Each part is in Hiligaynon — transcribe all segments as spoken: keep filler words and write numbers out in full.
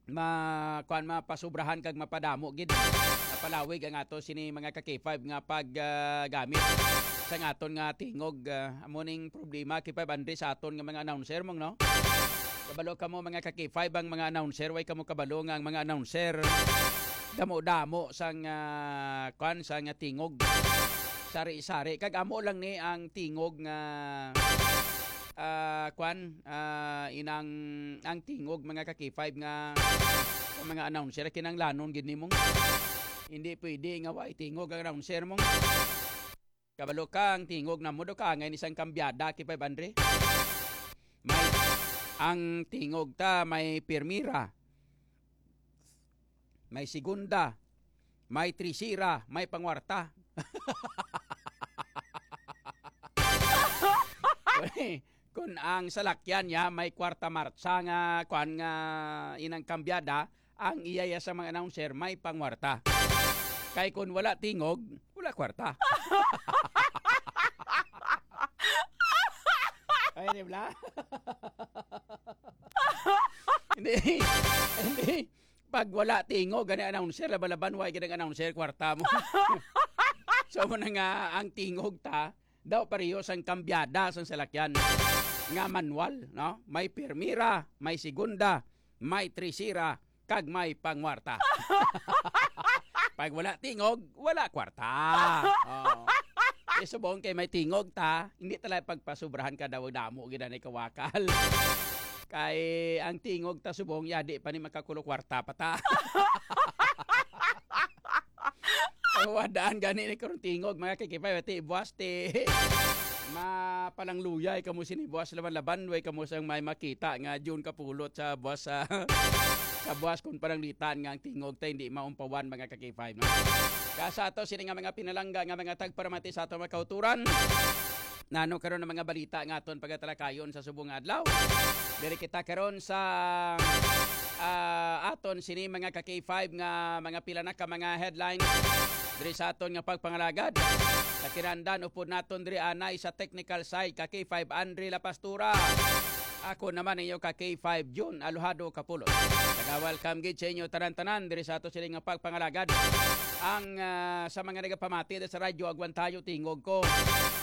ma-, kuwan, mapasubrahan kag mapadamo gid, mapalawig ang ato sini mga ka-K five nga pag, ah, gamit sa aton nga tingog. Ah, amo ning problema, K five Andre, sa aton nga mga announcer, mong, no? Kabalo kamo, mga ka-K five, ang mga announcer, way kamo kabalo nga ang mga announcer damo-damo sang, ah, kuwan, sang tingog. Sari-sari. Kag amo lang ni ang tingog nga, ah, kuwan, ah, inang, ang tingog, mga ka-K five, nga sa mga announcer, kinanglanon gid nimong. Hindi pwede nga way tingog ang announcer mong. Kabalo ka, ang tingog namo daw kaangay ni sang kambyada, K five Andre. May, ang tingog ta may pirmira, may segunda, may trisira, may pangwarta. Kun ang salakyan niya may kwarta martsa nga, kuan, nga inang kambyada, ang iya ya sa mga announcer may pangwarta. Kay kun wala tingog, wala kwarta. Ay, di ba? Hindi. Hindi. Pag wala tingog, gani announcer, laban-laban, wa gid ang announcer, kwarta mo. So, mo na nga, ang tingog ta, daw pareho sang kambyada sang salakyan nga manual, no? May primera, may segunda, may tresera, kag may pangwarta. Pag wala tingog, wala kwarta. Oh. Di subong kay may tingog ta, hindi talaga pagpasubrahan ka daw, damo gid na kawakal. Kay ang tingog ta subong, yadi pa ni makakulo kwarta pa ta. Ang wadaan gani ni karong tingog, mga ka-K five, ti buas ti mapalangluyay kamo sini buas laban-laban, way kamo sang may makita nga June kapulot sa buas sa, sa buas kung paranglitan nga ang tingog ta hindi maumpawan, mga ka-K five, no? Kaya sa ato sini nga mga pinalangga nga mga tagparamati sa ato mga kauturan, nano karon ang mga balita nga aton pagatalakayon sa subong nga adlaw. Diri kita karon sa, ah, aton sini mga ka-K five nga mga pila na ka mga headlines diri sa aton nga pagpangalagad. Sa kinahanglan, upod naton diri anay sa technical side, ka-K five Andre La Pastura. Ako naman inyo ka-K five June Alojado Kapulot. Naga-welcome gid sa inyo tanan-tanan diri sa ato sini nga pagpangalagad. Ang, ah, sa mga nagapamati sa radyo, agwantayo tingog ko.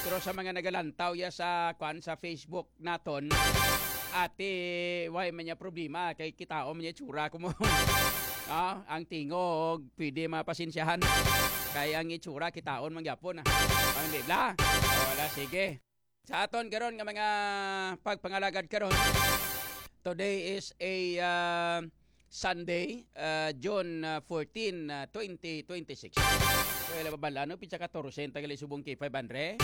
Pero sa mga nagalantaw ya sa, kwan, sa Facebook, naton, ate, way man niya problema, kay kitaon man niya itsura ko mo. Ah, ang tingog, pwede mapasensyahan. Kay ang itsura, kitaon man gyapon, ah. Ang bibla. Wala, sige. Sa aton karon nga mga pagpangalagad karon, today is a, ah, Sunday, ah, June, ah, fourteen, ah, twenty twenty-six. Well, babala, no? Pitsa katorse ang tagali subong K five Andre.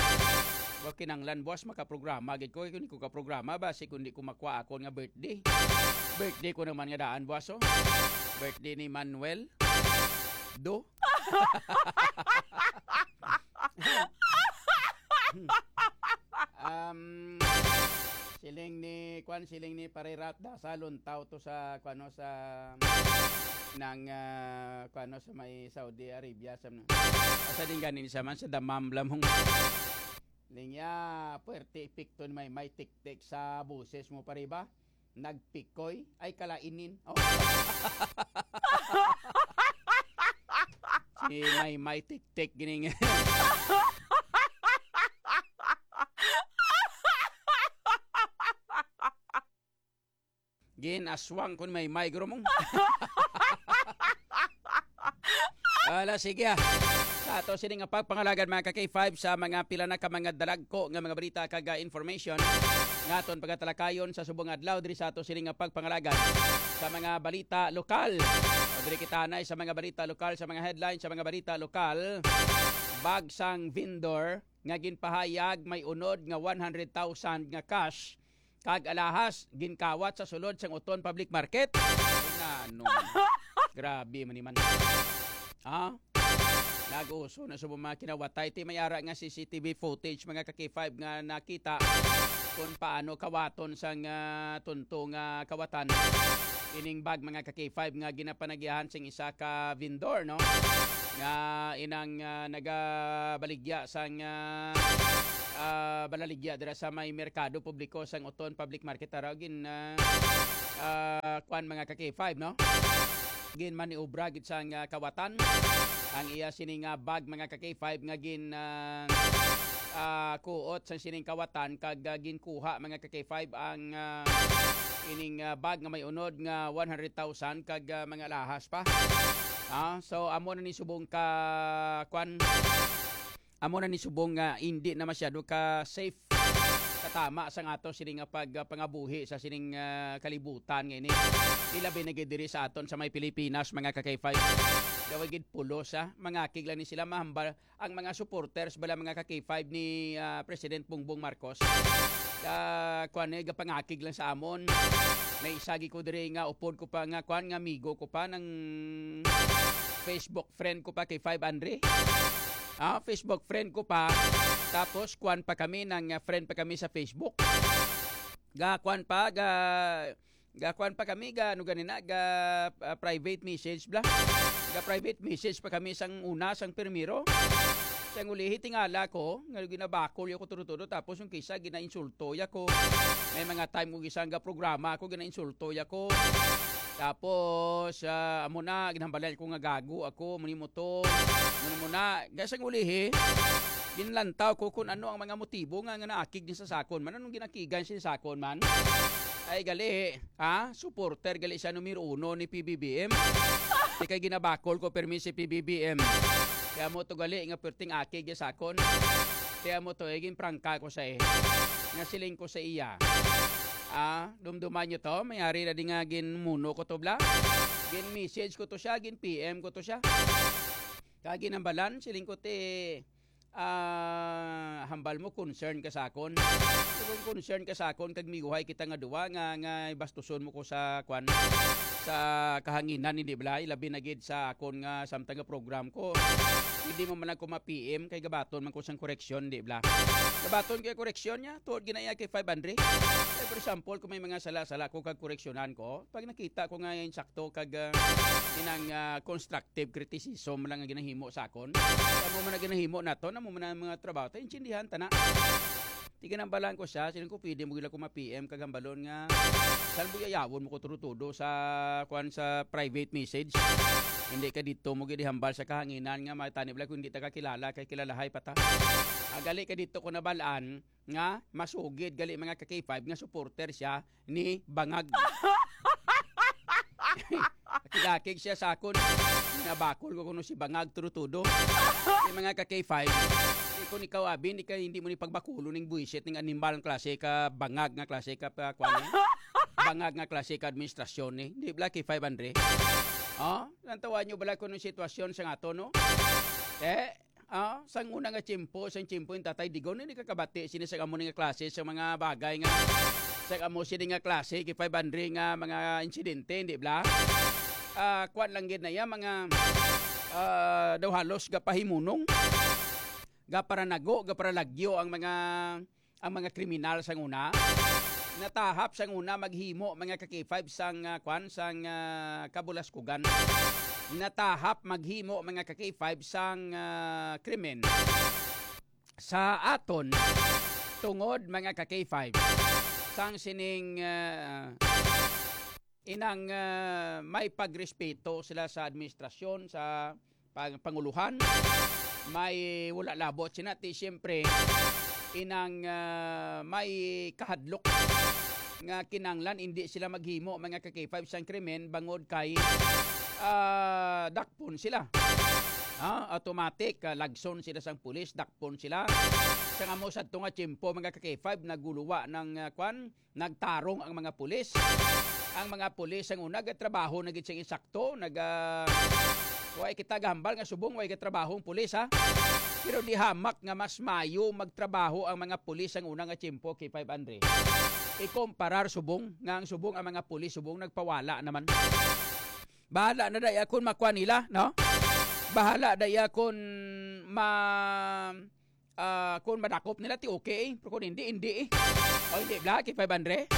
Wa kinanglan, boss, makaprograma gid ko. Kung di ko kaprograma, basi kung di ko makuha ako nga birthday. Birthday ko naman nga daan, boss, oh. Birthday ni Manuel. Do. Um, siling ni, kwan, siling ni Pare Rat, da sa Luntaw to sa, kwan, no, sa, nang, ah, kwan, no, sa may Saudi Arabia, sa, sa din ganin sa man, sa Damam Lamong. Lingya, puwerte epekto ni Maymay Tiktik sa boses mo, pare ba? Nagpikoy? Ay, kalainin. Oh. Si Maymay Tiktik, gining. Gin-aswang kun Maymay, guro mong. Ala, sige, ah. Sa ato sini nga pagpangalagad, mga ka-K five, sa mga pila na ka mga dalagko nga mga balita kag, ah, information nga aton pagatalakayon sa subong adlaw diri sa ato sini nga pagpangalagad sa mga balita lokal. O diri kita anay sa mga balita lokal, sa mga headlines, sa mga balita lokal. Bag sang vendor nga ginpahayag may unod nga one hundred thousand nga cash kag alahas ginkawat sa sulod sang Oton Public Market. Nano man. Grabe man ni man. Ha? Nag-uso na sa mga kinawatay. Ti may ara nga C C T V footage, mga ka-K five, nga nakita kung paano kawaton sang, ah, tunto nga kawatan ining bag, mga ka-K five, nga ginapanagihan sing isa ka vendor, no? Nga inang, ah, nagabaligya sang, ah, ah, balaligya dira sa may merkado publiko sang Oton Public Market. Tara, gin, ah, ah, kwan, mga ka-K five, no? Ginmaniobra gid sang, ah, kawatan ang iya sini nga bag, mga ka-K five, nga gin, ah, ah, kuot sa sining kawatan kag, ah, ginkuha, mga ka-K five, ang, ah, ining, ah, bag nga may unod nga one hundred thousand kag, ah, mga alahas pa. Ah, so amo na ni subong ka, kwan, amo na ni subong nga hindi na masyado ka safe, katama sang ato sini nga pag, ah, pangabuhi sa sining, ah, kalibutan nga ini. Ilabi na gid diri sa aton sa may Pilipinas, mga ka-K five. Daw gid pulos, ah. Mangakig lang ni sila, mahambal ang mga supporters bala, mga ka-K five, ni, ah, President Bongbong Marcos. Ah, kwan, eh, gapangakig lang sa amon. May isa gid ko diri nga upod ko pa nga, kwan, nga amigo ko pa, nang Facebook friend ko pa, K five Andre. Ah, Facebook friend ko pa. Tapos, kwan pa kami, nang, ah, friend pa kami sa Facebook. Ga, kwan pa, ga, ga, kwan pa kami, ga, ano gani na, ga, ah, private message bla. Ga private message pa kami sang una, sang primero. Sang ulihi, tingala ko, nga ginabakol ya ko tudo-tudo, tapos yung kisa, ginainsulto ya ko. May mga time ko gisa nga programa ako, ginainsulto ya ko. Tapos, ah, amo na, ginhambalan ko nga gago ako, muni mo to, muni mo na. Kaya sang ulihi, ginlantaw ko kung ano ang mga motibo nga, nga naakig ni sa sakon man. Anong ginakigan siya sa sakon man? Ay, gali, ha? Supporter gali siya numero uno ni P B B M. Di kay ginabakol ko permi si P B B M. Kaya mo to gali nga perting akig ya sakon. Kaya mo to, eh, ginprangka ko sa, eh. Nga siling ko sa iya. Ah, dumduman nyo to, may ari na di nga ginmuno ko to bla. Gin-message ko to siya, gin-P M ko to siya. Kag ginambalan, siling ko ti, ah, hambal mo, concern ka sa akon. Kung concern ka sa akon, kag miguhay kita nga duwa, nga, nga bastuson mo ko sa, kwan, sa kahanginan, hindi bala, labi na gid sa akon nga samtang nga program ko. Hindi mo man ako ma-P M, kay gabaton man ko sang koreksyon, di bala. Gabaton kay koreksyon niya, tuod ginaya kay five hundred. Kay, for example, kung may mga sala-sala ko kag koreksyonan ko, pag nakita ko nga insakto kag, ah, inang, ah, constructive criticism lang ang ginahimo sa akon. Sa mo man ang ginahimo nato, na mo man ang mga trabaho, ta intindihan ta na. Tiginambalan ko siya, siling ko, "Pwede mo gila ko ma-P M kag hambalon nga, saan mo yayawon mo ko tudo-tudo sa, kuan, sa private message? Hindi ka dito mo gid hambal sa kahanginan nga matani bala kung hindi ta kakilala, kay kilalahay pa ta. Agali ka dito ko nabalaan nga masugid gali mga ka-K five nga supporter siya ni Bangag." Kidakig siya sa akon. Nabakol ko kuno si Bangag tudo-tudo. Ni mga ka-K five, eh, kung ikaw, Abin, di ka, hindi mo ni pagbakulo ning buwisit ning animal nga klase ka bangag nga klase ka pa, kuwan, eh. Bangag nga klase ka administrasyon, eh. Di bala, K five Andre? Oh, nantawan nyo bala kung anong sitwasyon sa ato, no? Eh, ah, sang una nga tiyempo, sang tiyempo yung Tatay Digong, hindi ka kabati sini sa amo ni nga klase sa mga bagay nga, sa amo sini nga klase, K five Andre nga mga insidente, hindi bala? Ah, kuwan lang gid na iya, mga, ah, daw halos gapahimunong, gaparanago, gaparalagyo ang mga, ang mga kriminal sang una. Natahap sang una maghimo mga ka-K five sang, ah, kwan, sang, ah, kabulaskugan. Natahap maghimo mga ka-K five sang, ah, krimen sa aton tungod mga ka-K five sang sining, ah, inang, ah, may pagrespeto sila sa administrasyon, sa pang-, panguluhan, may wala labot sina ti siyempre inang, ah, may kahadlok nga kinanglan hindi sila maghimo mga ka-K five sang krimen bangod kay, ah, dakpon sila. Ah, automatic, ah, lagson sila sang pulis, dakpon sila. Sa nga mo sa tunga tiyempo mga ka-K five naguluwa ng, ah, kwan, nagtarong ang mga pulis. Ang mga pulis ang una gatrabaho na gid sing insakto, naga, way kita gahambal nga subong way gatrabaho ang pulis, ha. Pero di hamak nga mas mayo magtrabaho ang mga pulis ang una nga tiyempo, K five Andre. Ikomparar subong nga ang subong ang mga pulis subong nagpawala naman. Bahala na daya kun makuha nila, no? Bahala daya kun ma-, ah, kung madakop nila, ti okay. Pero kung hindi, hindi eh. O hindi, bla, kay five hundred.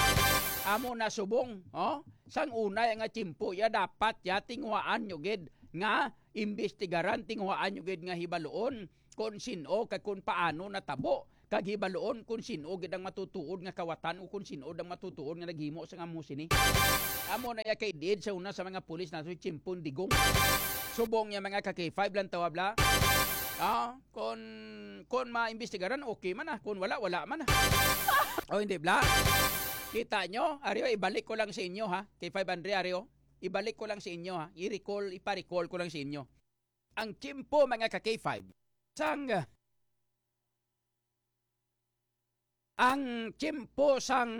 Amo na subong, oh? Sang unay nga tiyempo, ya dapat, ya tinguhaan nyo gid nga imbestigaran, tinguhaan nyo gid nga hibaloon kung sin-o kag kung paano natabo. kag hibaluon kon sin-o gid ang matutuod nga kawatan o kon sin-o ang matutuod nga naghimo sang amo sini. Amo na iya kay diid sa una sa mga pulis nato, si Chimpong Digong. Subong niya, mga ka-K five, lang tawab la. Ah, kon, kon maimbestigaran, okay man, ah. Kon wala, wala man, ah. O, hindi, bla? Kita nyo? Ari, o, ibalik ko lang sa inyo, ha? K five Andre, ari, o. Ibalik ko lang sa inyo, ha? I-recall, ipa-recall ko lang sa inyo. Ang tiyempo, mga ka-K five, sang, ang tiyempo sang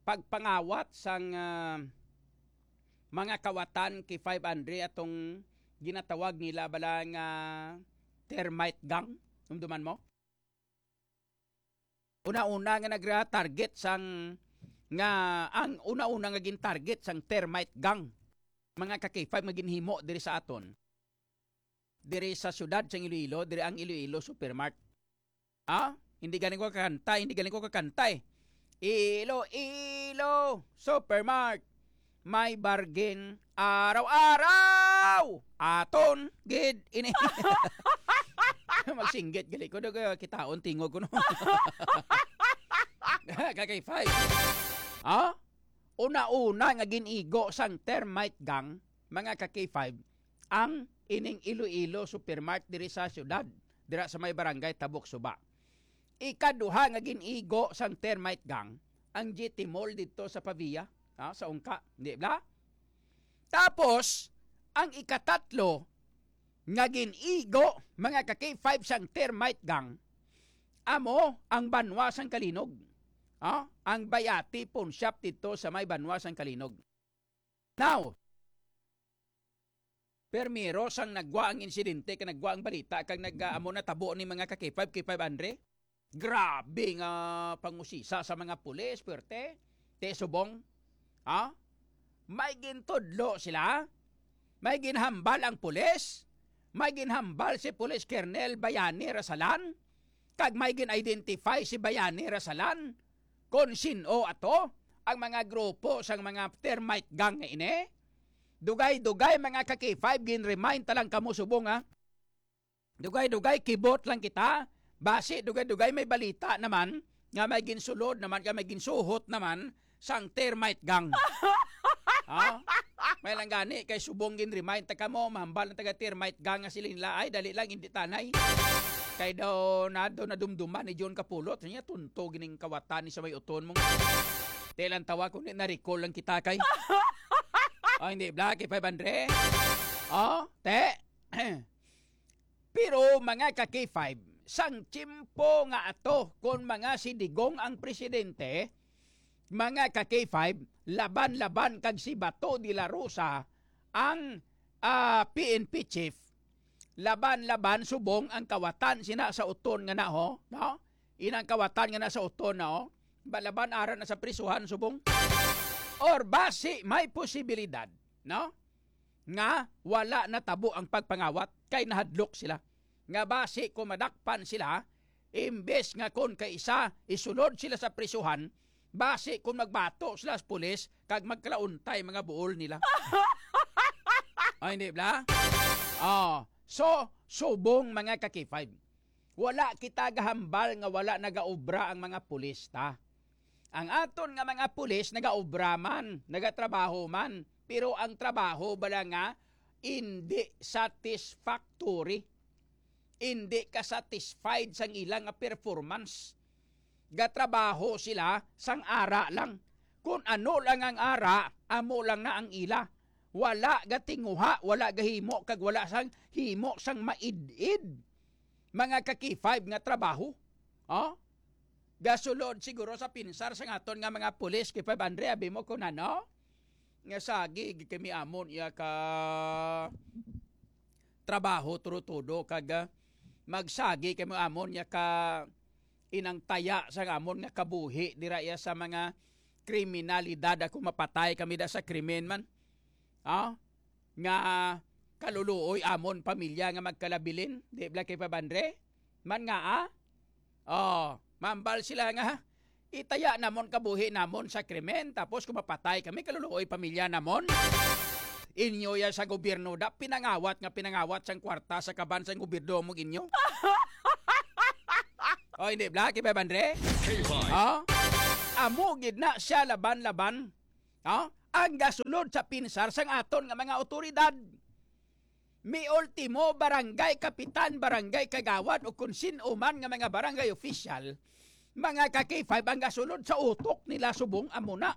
pagpangawat sang, ah, mga kawatan, K five Andre, atong ginatawag nila bala nga termite gang. Dumduman mo? Una-una nga nagra-target sang, nga ang una-una nga gin-target sang termite gang, mga ka-K five, nga ginhimo diri sa aton, diri sa siyudad sang Iloilo, diri ang Iloilo Supermart. Ah, hindi galing ko kakanta, hindi galing ko kakanta, eh. Iloilo Supermart, may bargain araw-araw. Aton gid ini. Magsinggit gali ko, dugay kitaon tingog ko, no? Ka-K five. Ah? Una-una nga gin-igo sang termite gang, mga ka-K five, ang ining Iloilo Supermart diri sa siyudad, dira sa may barangay Tabok Suba. Ikaduha nga gin-igo sang termite gang, ang G T Mall didto sa Pavia, ah, sa Ungka, di bala? Tapos, ang ikatatlo nga gin-igo, mga ka-K five, sang termite gang, amo ang banwa sang Calinog. Ah, ang Bayati Pawn Shop didto sa may banwa sang Calinog. Now, permiro sang nagwa ang insidente, kag nagwa ang balita, kag nag-, amo natabo ni, mga ka-K five, K five Andre. Grabe nga pangusisa sa mga pulis, puwerte. Te, subong. Ha? May gintudlo sila. May ginhambal ang pulis. May ginhambal si Police Colonel Bayani Rasalan. Kag may gin-identify si Bayani Rasalan kon sin-o ato ang mga grupo sang mga termite gang nga ini. Dugay-dugay, mga ka-K five, gin-remind ta lang kamo subong, ha. Dugay-dugay, kibot lang kita. Basi, dugay-dugay, may balita naman nga may ginsulod naman, nga may ginsuhot naman sang termite gang. Ha? May lang gani, kay subong gin-remind ta kamo, mahambal ang taga termite gang nga sila nila, "Ay, dali lang, hindi tanay." Kay daw, na, daw nadumduman ni John Kapulot, niya, "Tunto gining kawatan ni sa may uton mo." Te lang tawa kung di na-recall lang kita kay. Oh, hindi, Black, kay five hundred. Oh, te. Pero, mga ka-K five, sang tiyempo nga ato, kon mga si Digong ang presidente, mga ka-K five, laban-laban kag si Bato de la Rosa ang, ah, P N P chief. Laban-laban subong ang kawatan sina sa uton nga na, ho, no? Inang kawatan nga na sa uton na, oh. Balaban ara na sa prisuhan subong. Or basi may posibilidad, no? Nga wala natabo ang pagpangawat kay nahadlok sila. Nga basi kung madakpan sila, imbes nga kon kay isa isulod sila sa prisuhan, basi kung magbato sila sa pulis kag magkalauntay mga buol nila. Ay, hindi bla? Oh, so, subong mga ka-K five. Wala kita gahambal nga wala nagaobra ang mga pulis ta. Ang aton nga mga pulis nagaobra man, nagatrabaho man, pero ang trabaho bala nga indi satisfactory, indi ka satisfied sang ila nga performance. Gatrabaho sila sang ara lang. Kun ano lang ang ara, amo lang na ang ila. Wala gatinguha, wala gahimo, kag wala sang himo sang maid-id. Mga ka-K five nga trabaho. Oh? Gasulod siguro sa pinsar sang aton nga mga pulis, K five Andre, abi mo kun ano? Nga sagi gid kami amon iya ka trabaho, tudo-tudo, kag, ah, magsagi kami amon iya ka inang taya sang amon nga kabuhi dira iya sa mga kriminalidad, ako mapatay kami da sa krimen man. Ah? Nga kaluluoy amon pamilya nga magkalabilin, di bala kay five hundred? Man nga, ah? Oh, mambal sila nga, itaya namon kabuhi namon sa krimen, tapos kung mapatay kami, kaluluoy pamilya namon. Inyo ya sa gobyerno da, pinangawat nga pinangawat sang kwarta sa kaban sang gobyerno mo inyo. O, hindi, Black? Iba, Andre? K five. O? Amo gid na siya laban-laban. O? Ang gasulod sa pinsar sang aton nga mga awtoridad. Mi ultimo, barangay kapitan, barangay kagawad, o kung sin-o man nga mga barangay official, mga ka-K five, ang gasulod sa utok nila subong amo na.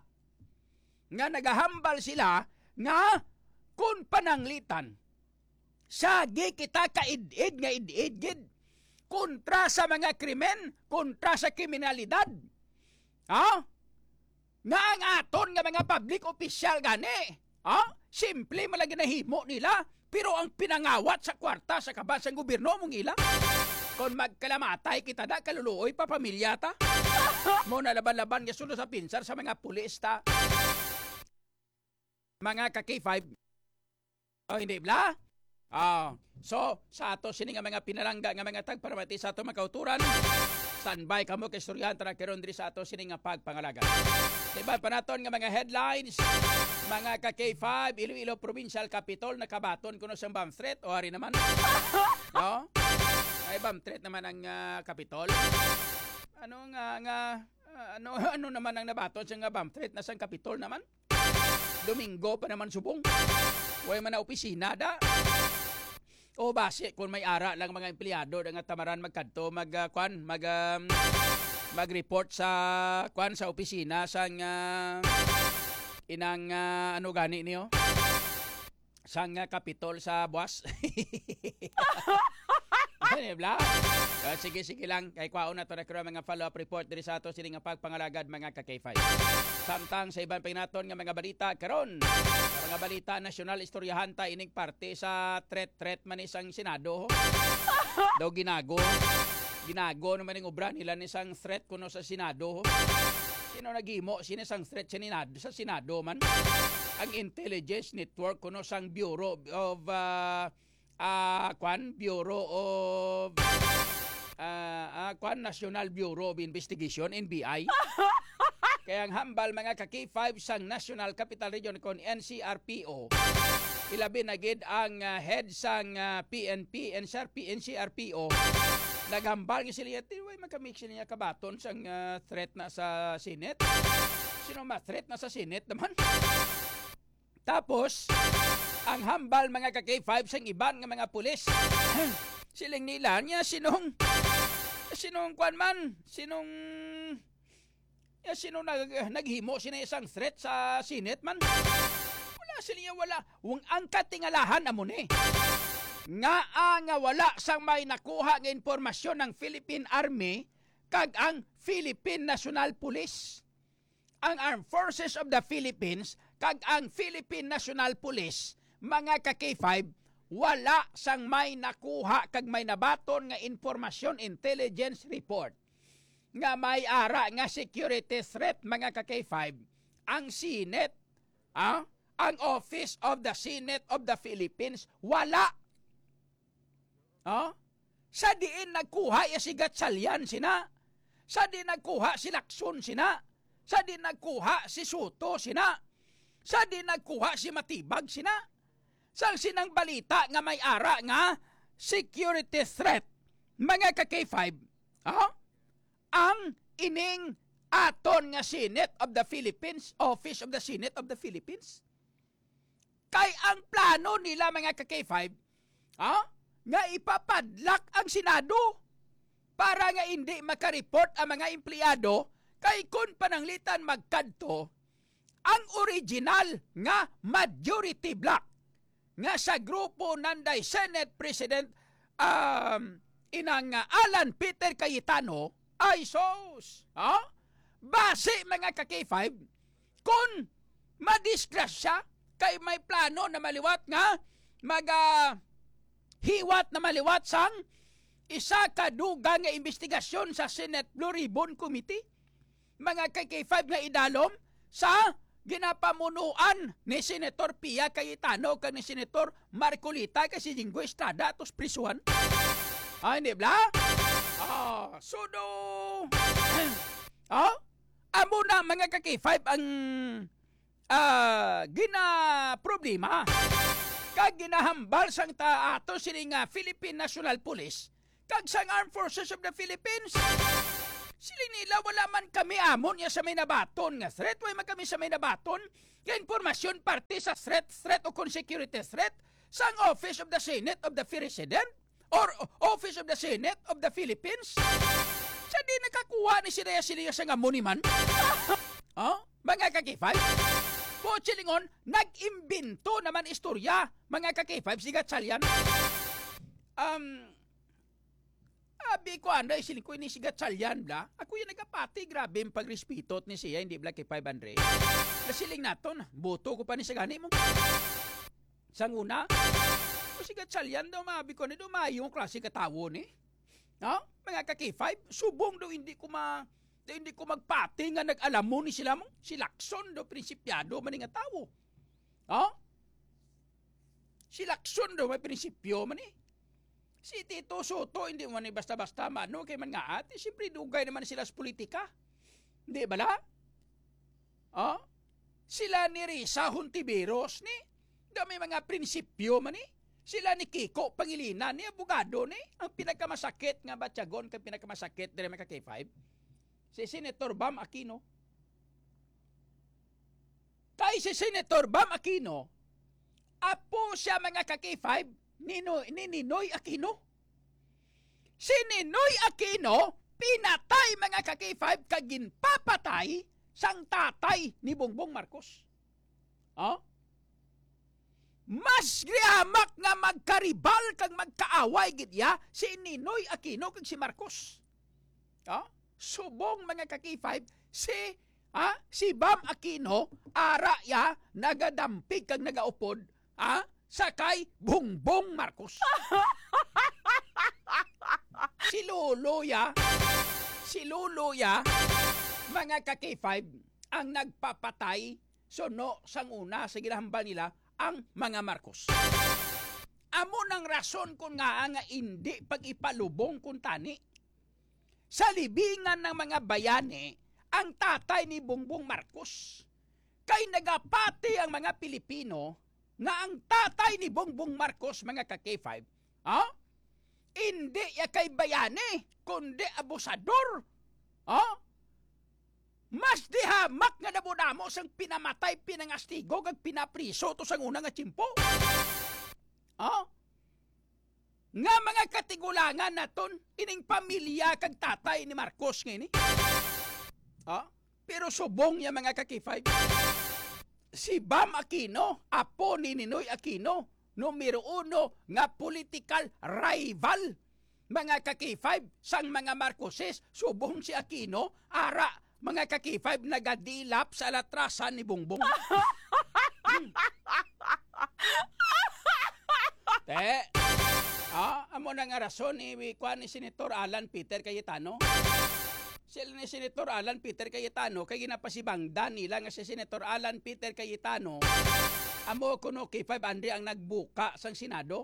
Nga nagahambal sila nga kung pananglitan, sagi kita ka id-id nga id-id gid kontra sa mga krimen, kontra sa kriminalidad. Ha? Nga ang aton nga mga public official gani, ha? Simple man lang ginahimo nila, pero ang pinangawat sa kwarta sa kaban sang gobyerno mong ila. Kung magkalamatay kita na, kaluluoy pa pamilya ta. Mo na laban-laban nga suno sa pinsar sa mga pulis ta. Mga ka-K five. O, hindi, bla? O, so, sa ato sini nga mga pinalangga nga mga tagparamati sa ato mga kauturan, standby kamo kay istoryahan ta na karon diri sa ato sini nga pagpangalagad. Sa iban pa naton nga mga headlines, mga ka-K five, Iloilo Provincial Capitol nakabaton kuno sang bomb threat, o ari naman. No? May bomb threat naman ang, ah, Capitol. Ano nga, nga, ah, ano, ano naman ang nabaton sa nga bomb threat na sang Capitol naman? Domingo pa naman subong. Way man na opisina da. O basi kung may ara lang mga empleyado da nga tamaran magkadto, mag, ah, kwan, mag, um, mag-report sa, kwan, sa opisina sang, ah, inang, ah, ano gani niyo? Sang, ah, Kapitol sa Buas. Ano, bla? Ah, sige, sige lang. Kay kwaon na to na karon mga follow-up report diri sa ato sini nga pagpangalagad, mga ka-K five. Samtang sa iban pa naton nga mga balita karon, sa mga balita nasyonal, istoryahan ta ining parte sa threat, threat man ni sang Senado. Daw ginago. Ginago naman ang obra nila ni sang threat kuno sa Senado. Sino naghimo sini sang threat sa Senado, sa Senado man? Ang intelligence network kuno sang Bureau of, ah, ah, kwan, Bureau of, ah, ah, kwan, National Bureau of Investigation, N B I. Kaya ang hambal, mga ka-K five, sang National Capital Region kon N C R P O, ilabi na gid ang, ah, head sang, ah, P N P, N C R P, N C R P O, naghambal nga sila, "Ti, way makamix niya kabaton sang, ah, threat na sa Senate? Sino ma-threat na sa Senate naman?" Tapos, ang hambal, mga ka-K five, sang iban nga mga pulis, siling nila niya, "Sinong, sinong kwan man? Sinong, ya, sino nag-, naghimo sina isang threat sa Senate man?" Wala sila, wala. Wang ang katingalahan amo ni. Nga, ah, nga wala sang may nakuha nga impormasyon ng Philippine Army kag ang Philippine National Police. Ang Armed Forces of the Philippines kag ang Philippine National Police, mga ka-K five, wala sang may nakuha kag may nabaton nga impormasyon, intelligence report, nga may ara nga security threat, mga ka-K five, ang Senate, ah, ang Office of the Senate of the Philippines, wala. Oh? Sa diin nagkuha ya si Gatchalian sina? Sa diin nagkuha si Lacson sina? Sa diin nagkuha si Soto sina? Sa diin nagkuha si Matibag sina? Sang sinang balita nga may ara nga security threat, mga ka-K five, oh? Ang ining aton nga Senate of the Philippines, Office of the Senate of the Philippines, kay ang plano nila, mga ka-K five, ha, nga ipapadlak ang Senado para nga indi makareport ang mga empleyado, kay kun pananglitan magkadto ang original nga majority bloc nga sa grupo nanday Senate President, um, inang, uh, Alan Peter Cayetano, ay sus, ha? Basi, mga ka-K five, kun madisgrasya kay may plano na maliwat nga mag, ah, hiwat na maliwat sang isa ka dugang nga imbestigasyon sa Senate Blue Ribbon Committee, mga ka-K five, nga idalom sa ginapamunuan ni Senator Pia Cayetano kag ni Senator Marcoleta kag si Jinggoy Estrada atos prisuhan. Ah, hindi bla? Ah, sudo. Ah? Amo na, mga ka-K five, ang, ah, ginaproblema kag ginahambal sang ta-, ato sini nga Philippine National Police kag sang Armed Forces of the Philippines. Siling nila, "Wala man kami amo niya sa may nabaton nga threat. Way man kami sa may nabaton nga impormasyon parte sa threat, threat o kon security threat sang Office of the Senate of the President or Office of the Senate of the Philippines." Sa di nakakuha ni sila, sila sa nga monument. Oh, mga ka-K five? Buot silingon, nag-imbento naman istorya, mga ka-K five, si Gatchalian. Um, abi ko, Andre, siling ko ini si Gatchalian, bla. Ako yung nagapati, grabe yung pagrespeto ni siya, hindi bla kay five hundred. Nasiling naton, boto ko pa ni sa gani mo. Sang una, o si Gatchalian daw, maabi ko, ni daw maayo ang klase ka tawo ni. No? Mga ka-K five, subong daw hindi ko ma-, daw hindi ko magpati nga nag-alam mo ni sila mo. Si Lacson daw, prinsipyado man ni nga tawo. Oh? Si Lacson daw may prinsipyo man eh. Si Tito Soto, hindi man ni basta-basta mano kay man nga ate, siyempre dugay naman sila sa politika. Di bala? Oh? Sila ni Risa Hontiveros ni, daw may mga prinsipyo man ni. Sila ni Kiko Pangilinan ni, abogado ni. Ang pinakamasakit nga batyagon kay pinakamasakit diri, mga ka-K five, si Senator Bam Aquino. Kay si Senator Bam Aquino, apo siya, mga ka-K five, ni, No-, ni Ninoy Aquino. Si Ninoy Aquino pinatay, mga ka-K five, kag ginpapatay sang tatay ni Bongbong Marcos. Oh? Mas gihamak nga magkaribal kag magkaaway gid iya si Ninoy Aquino kag si Marcos. Oh? Subong, mga ka-K five, si, ah, si Bam Aquino, ara ya, nagadampig kag nagaupod, ah, sa kay Bongbong Marcos. Si Lolo ya, si Lolo ya, mga ka-K five, ang nagpapatay suno sang una sa ginahambal nila ang mga Marcos. Amo nang rason kon ngaa nga indi pag-ipalubong kuntani sa libingan ng mga bayani ang tatay ni Bongbong Marcos. Kay nagapati ang mga Pilipino nga ang tatay ni Bongbong Marcos, mga ka-K five, ha? Indi ya kay bayani, kundi abusador. Ha? Mas dihamak nga damo-damo sang pinamatay, pinangastigo, kag pinapriso to sang una nga tiyempo. Ha? Nga mga katigulangan naton, ining pamilya kag tatay ni Marcos nga ini. Ha? Pero subong niya, mga ka-K five, si Bam Aquino, apo ni Ninoy Aquino, numero uno nga political rival, mga ka-K five, sang mga Marcoses, subong si Aquino, ara, mga ka-K five, nagadilap sa latrasan ni Bongbong. Hmm. Te, ah, amo na nga rason ni, kuan, ni Senator Alan Peter Cayetano. Sila ni Senator Alan Peter Cayetano kay ginapasibangdan nila nga si Senator Alan Peter Cayetano amo kuno, K five, Andre, ang nagbuka sang Senado.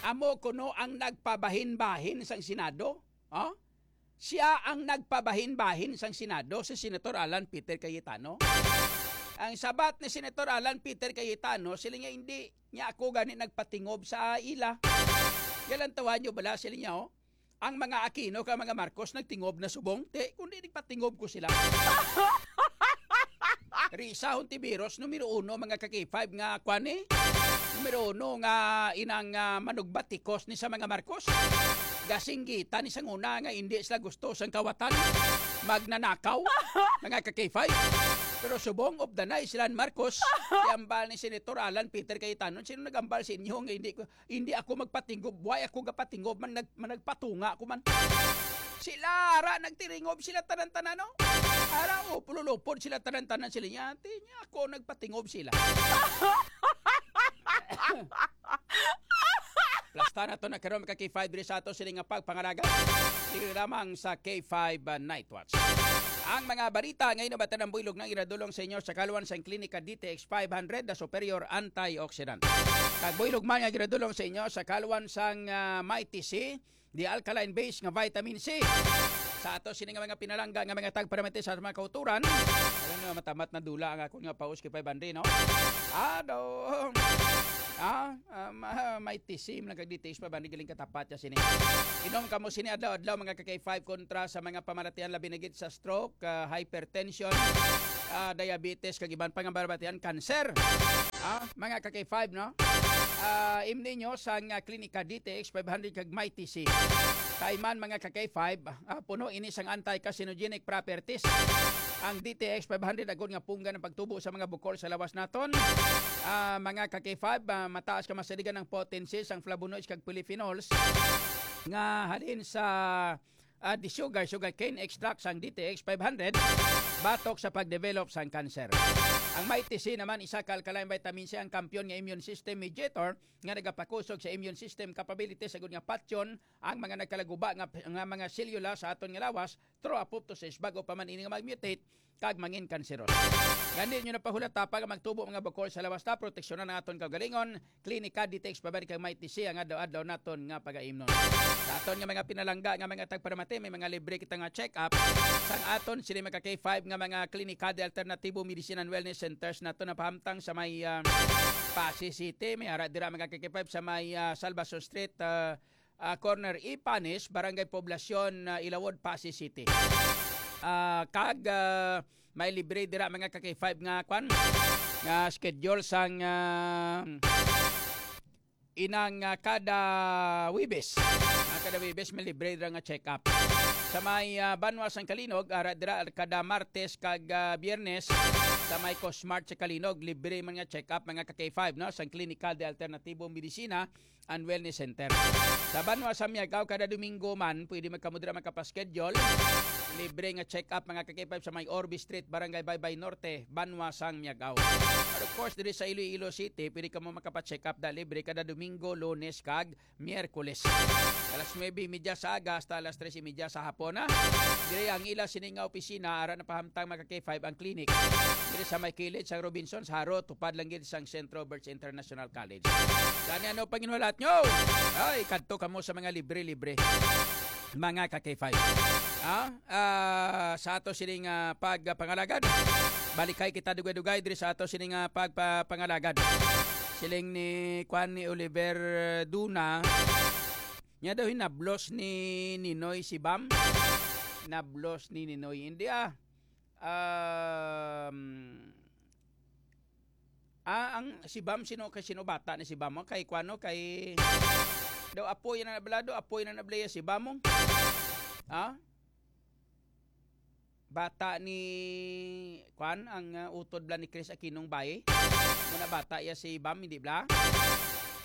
Amo kuno ang nagpabahin-bahin sang Senado. Oh? Siya ang nagpabahin-bahin sang Senado, si Senator Alan Peter Cayetano. Ang sabat ni Senator Alan Peter Cayetano, sila niya, "Hindi niya ako gani nagpatingob sa ila." Galantawan niyo bala, sila niya, oh. Ang mga Aquino kag mga Marcos nagtingob na subong, te, kundi nagpatingob ko sila. Risa Hontiveros, numero uno, mga ka-K five nga, kwan, eh? Numero uno nga inang, ah, manugbatikos ni sa mga Marcos. Gasinggitan ni sang una nga hindi sila gusto sang kawatan. Magnanakaw, mga ka-K five. Pero subong, of the night, sila ni Marcos, hambal ni Senator Alan Peter Cayetano, "Sino nagambal sa inyo nga hindi ko, hindi ako magpatingob, why ako gapatingob man, nag-, man nagpatunga ako man?" Sila, ara, nagtiringob sila tanan-tanan, no? Ara, upululupod sila tanan-tanan, sila niya. Ti niya, ako nagpatingob sila. Plasta na to na karon, mga ka-K five, diri sa ato sila nga pagpangalaga. Diri lamang sa K five, uh, Night Watch. Ang mga balita ngayon, nabatan ang buylog nga iradulong sa inyo sa kaluan sang Klinika D T X five hundred, the superior antioxidant. Kag buylog man nga giradulong sa inyo sa kaluan sang, ah, Mighty C, the alkaline base nga vitamin C. Sa ato sini nga mga pinalangga nga mga tagparamati sa mga kauturan, alam nyo, matamat na dula ang akon nga paus kay five hundred, no? Ano? Ah, ah, Ma-, may tisim lang kag D T X pa ba? Galing katapat ya sini. Inom kamo sini adlaw-adlaw, mga ka-K five, kontra sa mga pamaratian, labi na gid sa stroke, ah, hypertension, ah, diabetes, kag iban pa nga pamaratian, cancer. Ah, mga ka-K five, no? Ah, imni nyo sang, ah, Klinika D T X five hundred kag Mighty C. Kay man, mga ka-K five, ah, puno ini sang anti-carcinogenic properties. Ang D T X five hundred agod nga punggan ang pagtubo sa mga bukol sa lawas naton. Ah, mga ka-K five, ah, mataas ka masaligan ang potency sang flavonoids kag polyphenols nga halin sa, ah, the sugar, sugarcane extract sang D T X five hundred batok sa pagdevelop sang cancer. Ang Mighty C naman, isa ka alkaline vitamin C, ang kampiyon nga immune system mediator nga nagapakusog sa immune system capabilities agud nga patyon ang mga nagkalaguba nga, nga mga selula sa aton nga lawas through apoptosis bago pa man ini nga mag-mutate kag mangin kanseros. Gani nyo na pahulata pa nga magtubo mga bukol sa lawas ta, proteksyonan ang aton kaugalingon. Klinika D T X five hundred kag Mighty C ang adlaw-adlaw naton nga pagaimnon. Sa aton nga mga pinalangga nga mga tagparamati, may mga libre kita nga check-up sang aton sini mga K five nga mga Klinika de Alternativo Medicine and Wellness Centers nato napahamtang sa may, ah, Passi City. May ara dira mga K five sa may, ah, Salvacion Street, ah, ah, corner Ipanes, Barangay Poblacion, ah, Ilawod, Passi City. Ah, kag, ah, may libre dira mga ka-K five nga kwan, nga schedule sang, ah, inang, ah, kada Webes. Ah, kada Webes may libre dira nga check-up. Sa may, ah, Banwa sang Kalinog, ara dira kada Martes kag, ah, Biyernes sa may Cosmart sa Kalinog, libre man nga check-up mga ka-K five, no, sang Klinika de Alternativo Medicina and Wellness Center. Sa Banwa sa Miagao, kada Domingo man, pwede man kamo dira makapaschedule. Libre nga check-up, mga ka-K five, sa may Orbe Street, Barangay Baybay Norte, Banwa sang Miagao. And of course, diri sa Iloilo City, pwede kamo makapacheck-up da libre kada Domingo, Lunes, kag Miyerkules. Alas nuebe y media sa aga hasta alas tres y media sa hapon, ha? Diri ang ila sini nga opisina, ara napahamtang, mga ka-K five, ang clinic. Diri sa may kilid sang Robinsons, Jaro, tupad lang gid sang Centro Birch International College. Gani, ano panginhulat nyo? Ay, kadto kamo sa mga libre-libre, mga ka-K five. Ha? Ah, sa ato sining, ah, pagpangalagad. Balikay kita dugay-dugay diri sa ato sining, ah, pagpapangalagad. Siling ni Kwan, ni Oliver Duna, nya daw hinablos ni Ninoy si Bam. Nablos ni Ninoy. Hindi, ah. Um, ah, ang si Bam, sino kay, sino bata ni si Bam? Oh, kay Kwano, kay daw apoy na nabla, daw apoy na nabla si Bam, oh. Ha? Bata ni, kwan, ang, ah, utod bla ni Chris Aquino nga bayi. Muna bata iya si Bam, hindi bla?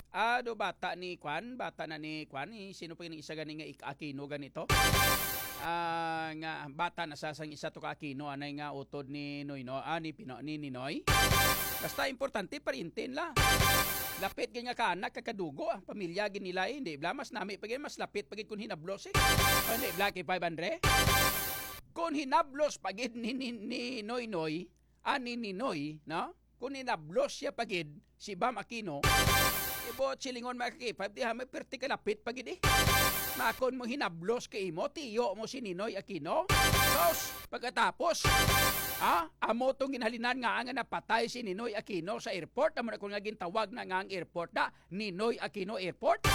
Ah, do bata ni, kwan, bata na ni, kwan, ni, sino pa yung isa gani nga ik-, Aquino ganito? Ah, nga bata na sa sang isa to ka Aquino, anay nga utod ni Noyno, ah, ni Pino-, ni Ninoy. Basta importante, pariente nila. Lapit gid nga kaanak, kakadugo, ah, pamilya gid nila, eh, hindi bla, mas nami pa gid, mas lapit pa gid kung hinablos, eh. O, hindi bla, kay five hundred? Kung hinablos pa gid ni, ni, ni Noynoy, ah, ni Ninoy, no? Kung hinablos siya pa gid, si Bam Aquino, ibot silingon, mga ka-K five, di ha, may perti kalapit pa gid, eh. Makon mo hinablos kay imo, tiyo mo si Ninoy Aquino. Sos, pagkatapos, ha? Amo tong ginhalinan nga nga napatay si Ninoy Aquino sa airport. Amo na kung nga gintawag na nga ang airport na Ninoy Aquino Airport.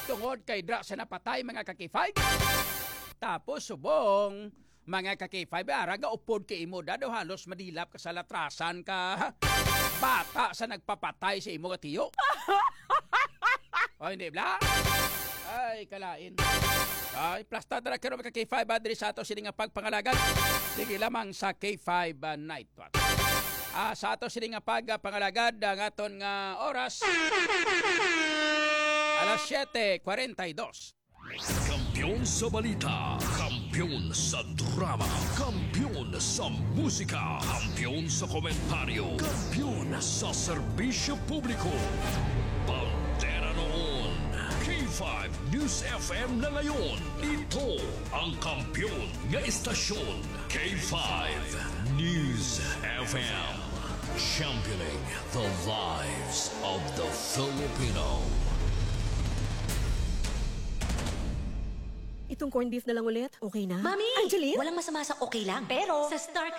Tungod kay dra sa napatay, mga ka-K five. Tapos subong, mga ka-K five, ara ga upod kay imo, dado halos madilap ka sa latrasan ka. Bata sa nagpapatay sa imo nga tiyo. O, hindi bla? Ay, kalain. Ay, plasta dara karon mga ka-K five, ah, diri sa ato sini nga pagpangalagad. Dili lamang sa K five, ah, Night Watch. Ah, sa ato sini nga pagpangalagad, ang aton nga oras, alas siyete kwarenta y dos. Kampiyon sa balita, kampiyon sa drama, kampiyon sa musika, kampiyon sa komentaryo, kampiyon sa serbisyo publiko. Bandera noon, K five News F M na ngayon. Ito ang kampiyon nga estasyon, K five News F M. Championing the lives of the Filipino. Itong corned beef na lang ulit. Okay na? Mami! Angeline? Walang masama sa okay lang. Pero sa Star